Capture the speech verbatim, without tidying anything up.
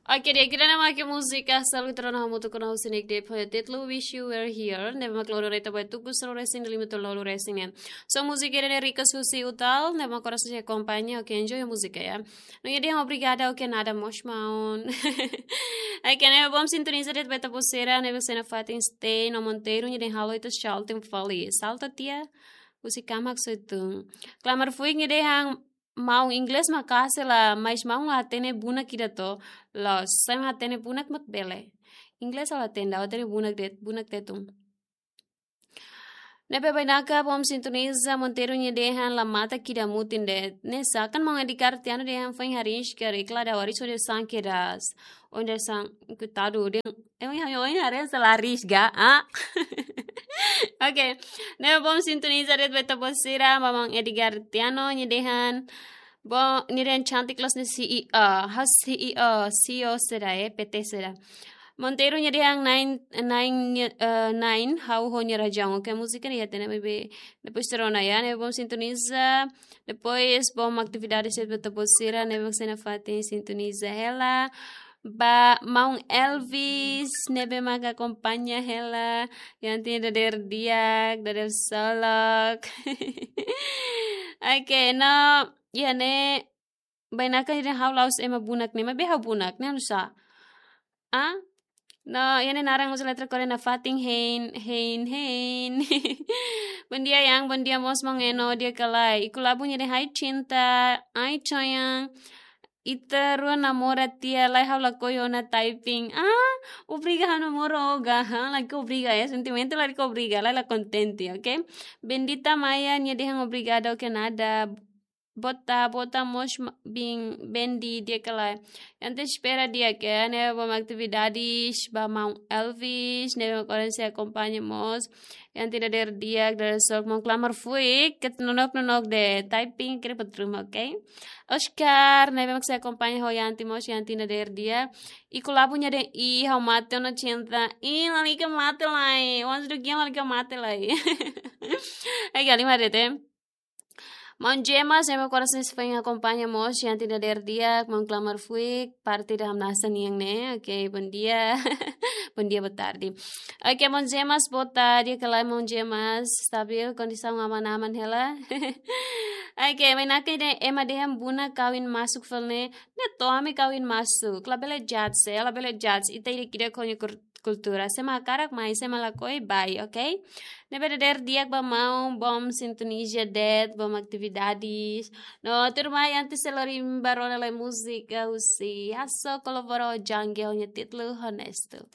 Oke, di'ak, ida-ne'e mak múzika Salgutrono hamutuk ho Sinek Dep ho títulu Wish You Were Here. Ne'ebé mak loron ita ba tuku sanulu-resin-lima to'o lima-nulu-resin-neen. So múzika ida-ne'e request husi Utal, ne'ebé mak oras ne'e akompaña, oke, enjoy múzika ya. No nia dehan obrigada, oke, nada mós maun. Oke, ne'ebé bom sintoniza de'it ba ita-boot sira, ne'ebé sei nafatin stay no Monteiro, nia dehan halo ita salting fali. Salta tia, husi kamak soitun. Klamar fuik nia dehan maun inglés maka'as hela, mas maun la hatene bunak ida to. Loos, se mak hatene bunak mak bele. Inglés la hatene, hatene bunak de'it, bunak tetun. Ne'ebé bainaka bom sintoniza Monteiro nia dehan la matak ida mutin de'it. Ne'e sakan maun Edgar Tiano dehan foin hariis karik la da waris onde sang kedas. Onde sang kutadu den. Emi hami oin hariis la hariis ga, ah? Oke. Ne'ebé bom sintoniza de'it ba ita-boot sira, maun Edgar Tiano nia dehan. Bom, nia dehan cantik loos ne'e C E O, ha'u C E O, C E O saida, eh, P T saida. Monteiro nia dehan nine, nine, eh, nine, ha'u ho nia razaun. Oke, múzika ne'e ya tene bebe. Depois terona ya, ne'ebé bom sintoniza. Depois bom atividade de'it ba ita-boot sira, ne'ebé sei nafatin sintoniza hela. Ba maun Elvis, ne'ebé mak akompaña hela. Yang tin dader di'ak, dader solok. Oke, no, ya ne'e, bainaka ida ha'u la'ós ema bunak ne'e, maibé ha'u bunak ne'e, nusá? Ah? No, ya ne'e naran uza letra Korea nafatin hein, hein, hein. Bom dia, Yang, bom dia, mós maun Eno, di'ak ka lae. Iku Labu nia dehan hai cinta, ai sayang. Ita rua namora tiha, lae ha'u lakohi ona typing. Ah, obriga ha'u namora ó ga, ha, lae obriga ya, sentimentu lae obriga, lae la kontente, oke? Bendita Maia nia dehan obrigada, oke, nada. Bota, bota mós ma-, bin, Bendi, di'ak ka lae. Yang tin espera di'ak, ne'ebé bom atividades, ba maun Elvis, ne'ebé mak oras ne'e sei akompaña mós. Yang tin dader di'ak, dader solok, maun Klamar fuik, ke nonok-nonok de'it, typing, kere patrum, oke? Oscar, ne'ebé mak sei akompaña ho yang tin mós, yang tin dader di'ak. Iku Labu nia dehan, ih, ha'u mate ona cinta. Ih, lalika mate lai. Once again, lalika mate lai. Ai, gali mare te. Maun Jemas, ne'ebé mak oras ne'e sei foin akompaña mós, yang tin dader di'ak, maun Klamar fuik, parte da hamnasa nian ne'e, oke, bom dia, bom dia, boa tarde. Oke, maun Jemas, boa tarde, di'ak ka lae maun Jemas, stabil, kondisaun aman-aman hela. Oke, bainaka ida ema dehan bunak kawin masuk fali ne'e, ne'e to'o ami kawin masuk, labele judge, eh, labele judge, ita ida-idak ho nia kur-, kultura. Se mak hakarak mai, se mak lakohi bá, oke? Ne'ebé dader di'ak ba maun, bom sintoniza de'it, bom atividades. No, tuirmai antes sei lori imi ba rona lai múzika husi Hasso kolabora ho Jangel nia títulu Honesto.